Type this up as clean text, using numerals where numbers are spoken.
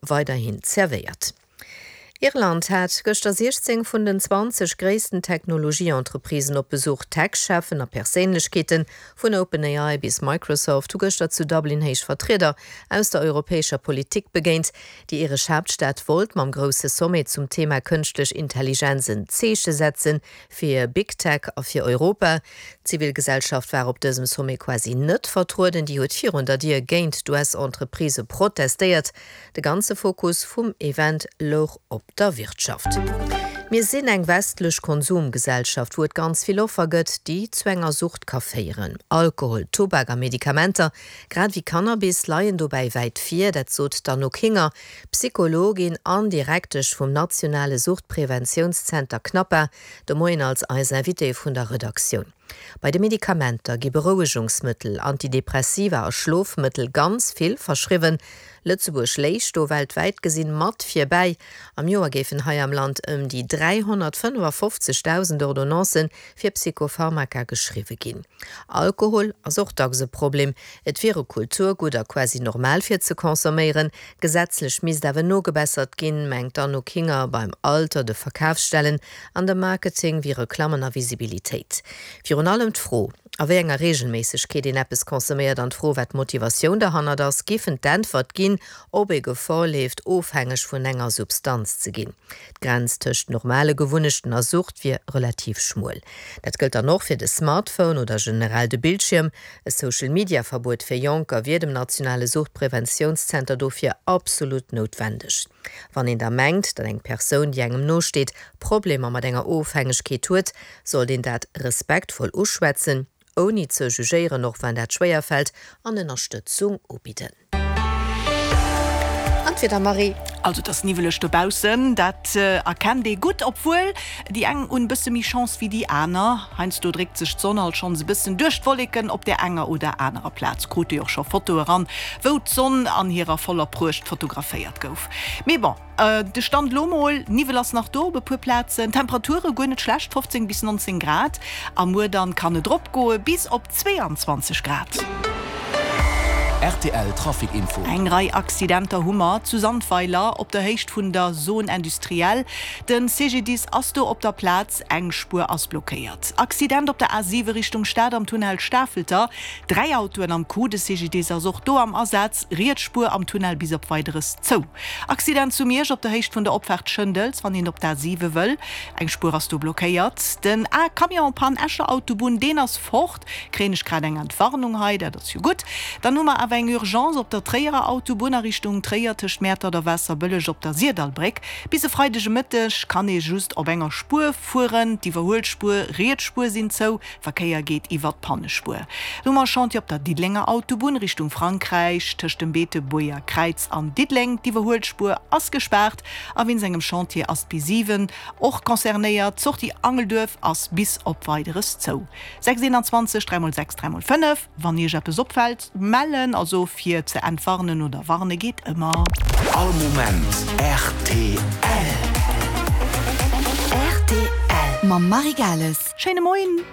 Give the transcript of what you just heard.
Weiderhin zerwéiert. Irland hat gëschter 16 vun den 20 gréissten Technologie-Entreprisen op Besuch. Tech-Cheffen a Perséinlechkeete vun OpenAI bis Microsoft hu gëschter zu Dublin héich Vertrieder aus der europäescher Politik begéint. Déi iresch Haaptstad wollt mam grousse Sommet zum Thema kënschtlech Intelligenz en Zeeche setze fir Big Tech a fir Europa. D'Zivilgesellschaft war op dësem Sommet quasi net vertrueden. Déi huet virun der Dier géint d'US-Entreprisë protestéiert. De ganze Fokus vum Event louch op der Wirtschaft. Mir sinn eng westlech Konsumgesellschaft, wou et ganz vill Offer gëtt, déi zu enger Sucht ka féieren. Alkohol, Tubak a Medikamenter, grad ewéi Cannabis, leien dobäi wäit vir. Dat sot d'Anouk Hinger, Psychologin an Direktesch vum nationale Suchtpreventiounszenter CNAPA, de Moien als eis Invitée vun der Redaktioun. Bei de Medikamenter gi Berouegungsmëttel, Antidepressiva a Schlofmëttel ganz vill verschriwwen. Lëtzebuerg léich do weltwäit gesinn mat virbäi. Am Joer géifen hei am Land ëm déi 355.000 Ordonnancë fir Psychopharmaka geschriwwe ginn. Alkohol ass och dacks e Problem. Et wier e Kulturgutt a quasi normal fir ze consomméieren. Gesetzlech misst awer nogebessert ginn, mengt d'Anouk Hinger. Beim Alter, de Verkafsstellen an dem Marketing wéi Reklammen a Visibilitéit. Virun allem d'Fro, a wéi enger Reegelméissegkeet een eppes consomméiert an d'Fro, wat d'Motivatioun derhannert ass, giffen d'Äntwert ginn, ob ee Gefor leeft, ofhängeg vun enger Substanz ze ginn. D'Grenz tëscht normale Gewunnechten a Sucht wier relativ schmuel. Dat gëllt dann och fir de Smartphone oder generell de Bildschierm. E Social-Media-Verbuet fir Jonker wier dem nationale Suchtpreventiounszenter dofir absolut noutwendeg. Wann een da mengt, datt eng Persoun, déi engem nosteet, Problemer mat enger Ofhängegkeet huet, sollt een dat respektvoll uschwätzen, ouni ze jugéieren, och wann dat schwéier fält, an Ënnerstëtzung ubidden. An d'Wieder, Marie? Also et ass niwweleg dobaussen, dat erkennt ee gutt, obwuel déi eng hunn e bësse méi Chance wéi déi aner. Heiansdo dréckt sech d'Sonn alt schonns e bëssen duerch d'Wolleken op där enger oder anerer Plaz. Krute jo och scho Fotoe ran, wou d'Sonn an hirer voller Pruecht fotograféiert gouf. Mee bon. De Stand elo mol, Niwwel ass nach do op e puer Plazen, Temperature guer net schlecht, 15 bis 19 Grad, a muer dann kann et eropgoe bis op 22 Grad. Rtl Trafic Info. Eng Rei Accidenter hu mer zu Sandweiler op der Héicht vun der Zone Industrielle. Den CGDIS ass do op der Plaz, eng Spuer ass blockéiert. Accident op der A7 Richtung Stad am Tunnel Stafelter, 3 Autoen am Coup. De CGDIS ass och do am Asaz, riets Spuer am Tunnel bis op Weideres zou. Accident zu Miersch op der Héicht vun der Opfaart Schëndels, wann een op d'A7 wëll. Eng Spuer ass do blockéiert. Den A Camion Panne Escher Autobunn, deen ass fort. Kréien ech grad eng Entwarnung hei, dat ass jo gutt. Dann hu mer awer eng Urgence op der Tréierer Autobunn a Richtung Tréier tëscht Mäertert a Waasserbëlleg op der Sirdallbréck. Bis e Freideg e Mëtteg kann ee just op enger Spuer fueren. D'Iwwerhuelspuer, riets Spuer sinn zou. Verkéier geet iwwert d'Pannespuer. Do mer Chantier op der Diddelenger Autobunn Richtung Frankräich, tëscht dem Beetebuerger Kräiz an Diddeleng. D'Iwwerhuelspuer ass gespaart a wéinst engem Chantier ass d'B7 och concernéiert. D'Sortie Angelduerf ass bis op Weideres zou. 6 21 3 x 6 3 x 5 Wann Iech eppes opfält, mellen, also fir ze entwarnen oder warne geet ëmmer. All Moment rtl. Rtl mam Marie Gales. Schéine Moien.